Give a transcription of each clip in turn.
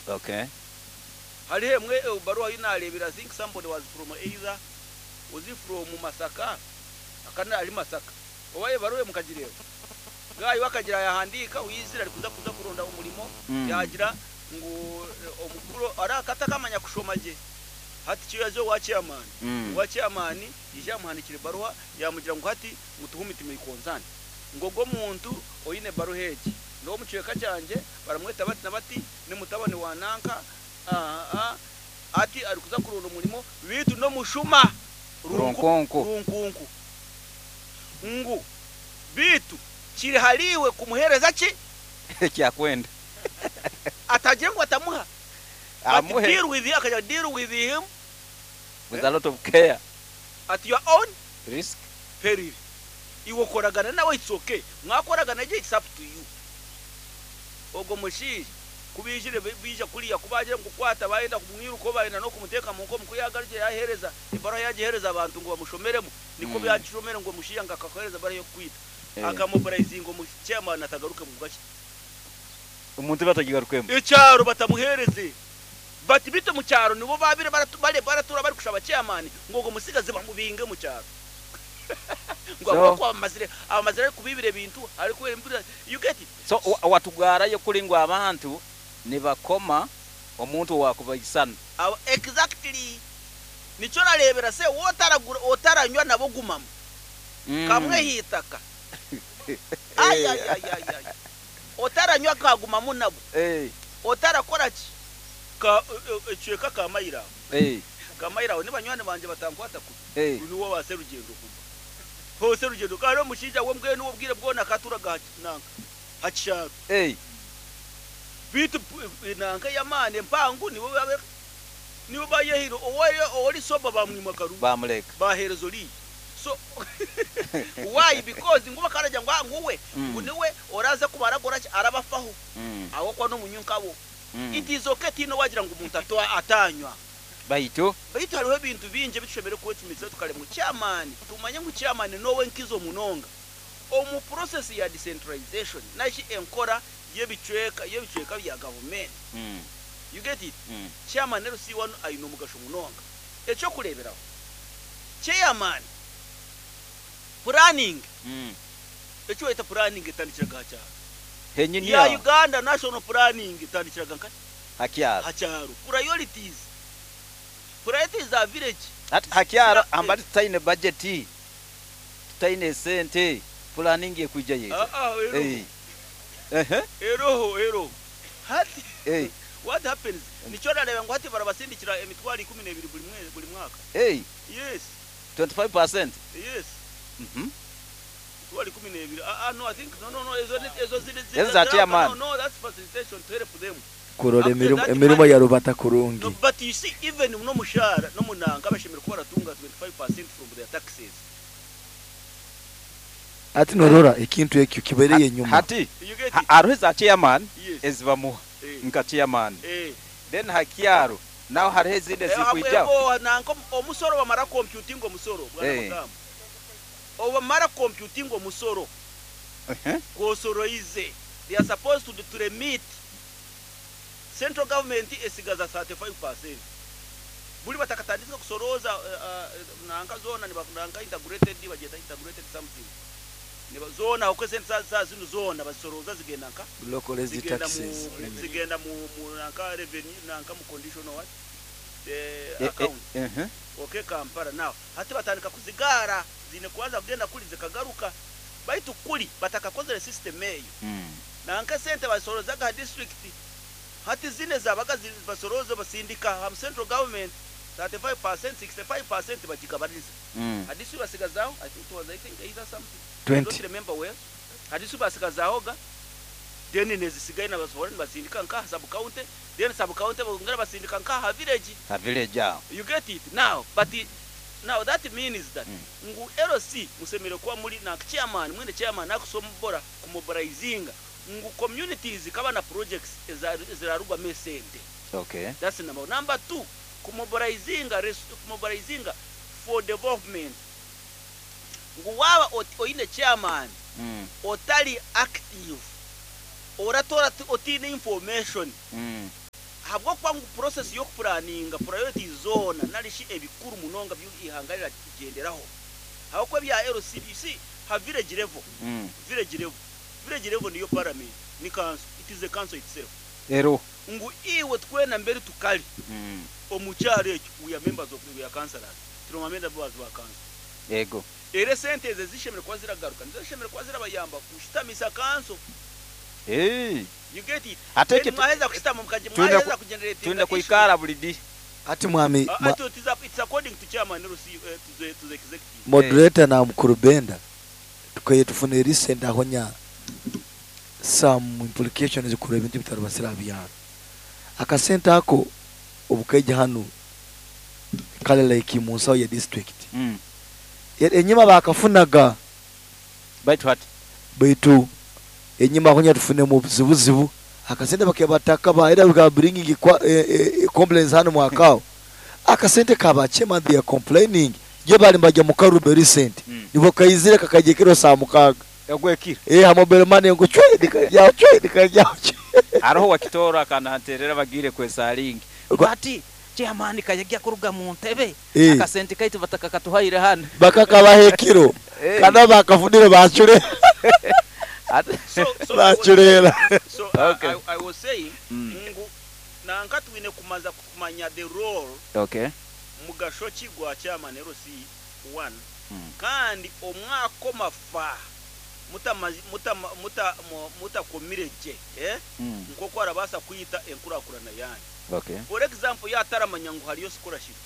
Okay. Hariho emwe ebaruha ei naareebire I think somebody was from either was he from Masaka akaba ari Masaka oba ebaruha mukagireeba guy we akagira yahandiika owaizire arikuza kuza kuronda omurimo yaagira ngu omukuru araka atakamanya kushoma gye hati kyo yaaza owa chairman owa chairman yaija yamuhandiikira ebaruha yaamugira ngu hati ngu to whom it may concern ngu ogwo omuntu oine ebaruha egi n'ow'omu kicweka kyangye baramweta bati na bati ni mutabani wa nanka Aa, ati arikuza kuronda omurimo beitu n'omushuma Runkunku. Runkunku. Ngu beitu kiri hariiwe kumuheereza ki? Eki akwenda. Atagire ngu atamuha. But Amuhe. deal with him, akagira deal with him. With a lot of care. At your own. Risk. Peril. Iwe okoragana nawe it's okay. Mwakoragana gye it's up to you. Ogwo mushaija ku baijire baija kuriya ku baagira ngu kukwata baayenda kumwirukaho baayenda n'okumuteeka mu nkomo ku yaagarukire yaaheereza ebaruha yaagiheereza abantu ngu bamushomeremu nikwo yaagishomere ngu omushaija ngu akakuheereza ebaruha y'okukwita akamobilizinga omu chairman atagaruke mu bwaki. Omuntu batagigarukemu. Ekyaro batamuheereze bati beitu omu kyaro nibo baabaire baratuura barikushaba chairman ngu ogwo mutsigazi bamubinge omu kyaro ngu ahabw'okuba abamazire arikubiibira ebintu arikubiibira you get it. So watugaarayo kuri ngu abantu nibakoma omuntu owakubaisana. Exactly nikyo orareebera se wotaragura otaranywa nabo gumamu kamwe aheitaka ayayayayay otaranywa kagumamu nabo otarakoraki ka ekicweka ka mailo aho ka mailo aho nibanywani bangye batankwata kubi niwe owa Serugendo kuba ho Serugendo kandi omushaija we mbwenu obwire bwona akaturaga aha nanka Ha kishaaru. Beitu nanka ey'amaani empango nibo nibo bayehaire owori sober bamwima akaruru Bamureka. baheereza oriya. So why because ngu bakaragira ngu ngu we ngu niwe oraze kubaragora ki arabafaho ahabw'okuba n'omunywi nkabo. It is okay tihaine owagira ngu omuntu atanywa. Baitu. Baitu hariho ebintu bingi ebi tushemereire kwecumitiriza tukareeba ngu chairman tumanye ngu chairman n'owenkizo munonga. Omu process ya decentralization nari enkora y'ebicweka y'ebicweka bya gavumenti, you get it, chairman LC wanu aine omugasho munonga. Eky'okureeberaho, chairman planning, eki bayeta planning etandikiraga aha kyaro. Henyini Ya aho. Uganda national planning etandikiraga nkahi? Ha kyaro. Ha kyaro. Priorities, priorities za village. Hati ha kyaro amba tutaine budget. Tutaine sente, puraningi ekwija yaija. Ah, ah, eroho. Eh. Ehe. Eroho, eroho. Hati, Eh. what happens, nikyo orareeba ngu hati barabasindikira emitwaro 12 buri mwe, buri mwaka. Eh. Yes. 25%? Yes. Mhm. Emitwaro 12. Ah, ah, no, I think, no, no, no, ezo, ni- ezo ziri, ziri, Ezo za chairman. No, no, that's facilitation to help them. Kurora After emirimo that emirimo money, yarubata no, kurungi. but you see, even n'omushaara, n'omunanka bashemereire kuba baratunga 25% from their taxes. Hati norora ekintu ekyo kibereyo enyuma. Hati hariho eza chairman ezibamuha nka chairman then ha kyaro naho hariho ezindi ezikwijaho. Nanka omusoro bamara computinga omusoro bwana Mugamba obamara computinga omusoro gwosoroize they are supposed to to remit Central government esigaza 35%. Buri batakatanditsire kusorooza nanka zoona niba nanka integrated bagyeta integrated something. Niba zoona ahabw'okuba esente za za zinu zoona bazisorooza zigenda nka Localized zigenda mu taxes. zigenda mu mu nanka revenue nanka mu conditional what? The Eh, eh, account. ehe. Okay Kampala now hati batandika kuzigaara ziine kubanza kugenda kuri zikagaruka baitu kuri batakakozire system eyo. Nanka esente bazisorozaga aha district hati zinu ezabaga basorooza basindika aha central government 35%, 65% bagigabaniza aha district basigazaho I think it was I think either something I don't 20. remember well aha district basigazaho ga then nezisigaye nibasohora nibasindika nka aha sub county then sub county bongera basindika nka aha village. Ha village aho. You get it now but now that means that ngu LC mushemereire kuba muri nanka chairman mwine chairman akusobora kumobilizinga ngu communities zikaba na projects ezirarugwamu esente. Okay. That's number one. Number two, kumobilizinga kumobilizinga for development ngu waaba oine chairman otari active oratoora otiine information. Ahabw'okuba ngu process y'okupuraninga priorities zoona nari shi ebikuru munonga bi eihanga riragyenderaho ahabw'okuba ebya LC you see ha village level, village level, village level niyo parliament ni council, it is a council itself. Eriho. Ngu iwe twena mberi tukari omu kyaro ekyo we are members of we are councillors, turi ba members ba council. Yego. Reero esente ezo ezishemereire kuba ziragaruka nizo zishemereire kuba zirabayamba kushutamisa kanso. Eeh. You get it? Ate Then ekyo mwaheza kushutama mukagy twine mwaheza kugeneratinga twine issue. kwikara buri di. Hati mwami Ah, mwa it is it's according to chairman LC eh, to the to the executive. moderator na mukuru Benda tukaye tufune recent ahonya some implications kureba ebintu bitarabasira aha byaro. Akasente ako obukaija hanu kale like mu nsaho ya district. Enyima bakafunaga. Baitu hati. Baitu enyima aho nyatufunemu obuzibuzibu akasente bakebataka ba era we bringing complaints hanu mwakao akasente ka ba chairman they are complaining je bali mbajya mu Karube recent nibo kaizire kakajya kiro saa 6 Ogwekiro. Ha mobile money ngu chwe nikajya chwe nikajya chwe. Haroho wakitooro akananterera bagiire kwesalingi ngu hati chairman kayagya kuruga mu ntebe akasente kaitu batakakatuhaire hanu. Bakakabaha ekiro kandi abakafunire bacure. So, so, Bacureera. So Okay. I was saying ngu nanka twine kumanza kumanya the role mugasho ki gwa chairman LC 1 kandi omwaka omafa mutakomire gye nk'oku arabaasa kwita enkurakurana yanyu. For example, yataramanya ngu hariyo scholarships.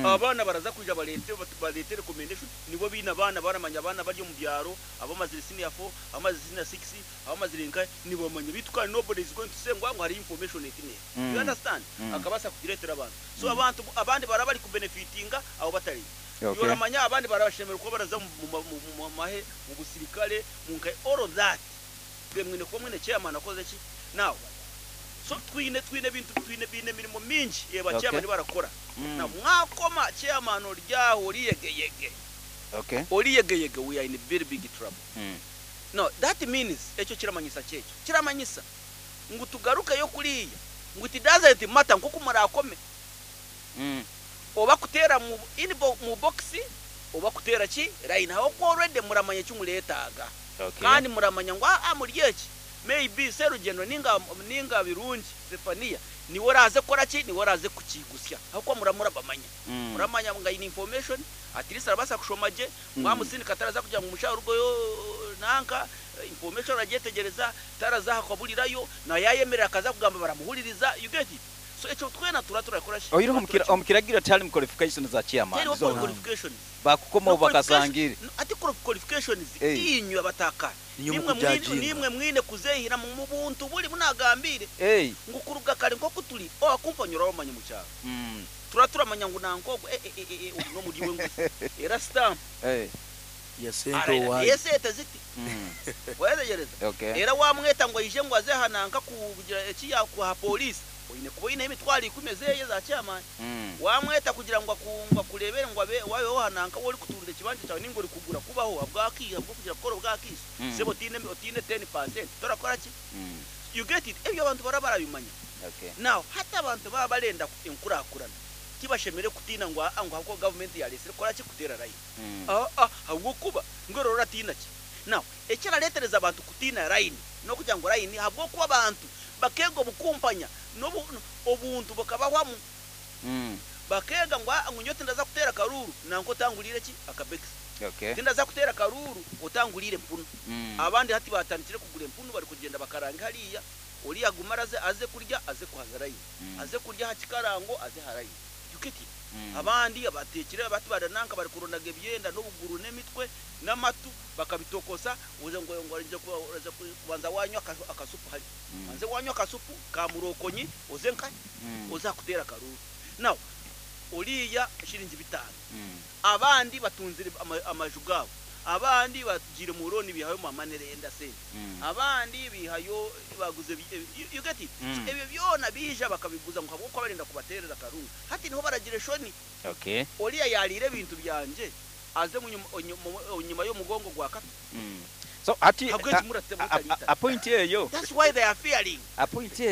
Abaana baraza kwija barete recommendation nibo biine abaana baramanya abaana bari omu byaro abamazire senior 4, abamazire senior 6, abamazire nka nibamanya bitu kandi nobody is going to say ngu hariyo information etine. You understand? Akabaasa kugireetera abantu. So abantu abandi baraba bari kubenefitinga abo batari. Yoramanya abandi barabashemerera kuba baraza mu mahe mu busirikare mu nka all of that. Twe mwine kuba mwine chairman akoze ki? Now so twine bintu twine bine mirimo mingi eba chairman barakora. Na mwakoma chairman oryaho oriyegeyege. Oriyegeyege we are in very big trouble. No, that means ekyo kiramanyisa kyekyo. Kiramanyisa ngu tugarukeyo kuriya ngu it doesn't matter nkoku murakome. Oba kutera mu in mu box oba kutera ki line aho ko already muramanya eki muretaaga. Kandi muramanya ngu muri eki maybe Serugendo ninga Birungi Zephania niwe oraze kora ki niwe oraze kukigusya aho ko muramura bamanya. Muramanya nga in information at least arabasa kushoma gye mwamusindika taraza kugira ngu mushahara ugoyo nanka information aragyetegereza taraza hakabulirayo na yayemerera akaza kugamba baramuhuririza you get it. So ekyo twena tura turakora shi. Oyireho omukiragira tali mu qualifications za chairman. Teri Zona. qualifications. Bakukoma No bakasangire. No, ati qualifications inywe abataka. Niyo Nimwe mukujajinga. mwine kuzehira mu buntu buri munagambire. Ngukuruga kare nko kuturi o akumpanyura omanya mu cyaro. Tura turamanya ngu nankogo no muri we ngu. Era stamp. Ya sente Ara, owaye. Yesete ziti. Wezegereza. Era wamweta ngo aije ngo aze hananka kugira eki yakuha police. Oyine kuba oyine emitwaro 10 ezeye za chairman. Wamweta kugira ngo akungwa kurebere ngo abe wabe wahananka wori kutunda ekibanja cyawe ningo uri kugura kubaho abwaki abwo kugira gukora obwakiso. Sebo otine 10% torakora ki? You get it? Ebyo abantu barabimanya. Now hata abantu baba barenda enkurakurana kibashemere kutina ngo ngo hako government yaresire kora ki kutera line. Habwo kuba ngo rora tina ki? Now ekiraretereza abantu kutina line no kugira ngo line habwo kuba abantu bakego bukumpanya no obuntu bukabahwamu. Bakega ngo nyote ndaza kutera karuru nanko tangulire ki akabekisi. Tindaza kutera karuru otangulire mpunu. Abandi hati batandikire kugura empunu bari kugenda bakaranga hariya ori agumaraze aze kurya aze kuhaza line. Aze kurya hakikarango aze harayi. You get it? Abandi abatekire abati barananka bari kurondaga ebyenda n'obuguru n'emitwe n'amatu bakabitokosa uze ngo ngo nje kuba kubanza wanywa akasupu hari. Anze wanywa akasupu ka murokonyi uze nka uza kutera karuru. Now oriya shiringi 5. Abandi batunzire amaju gabo. Abandi bagire mu roni bihayo mamanerenda se. Abandi bihayo baguze you get it? So, ebyo byona bija bakabiguza ngo habwo barinda kubaterera karungu. Hati niho baragire shoni. Oriya yarire bintu byanje aze nyuma yo mugongo gwa kata. So ati Habwo kimurate mutarita. a point eyo. That's why they are fearing. A point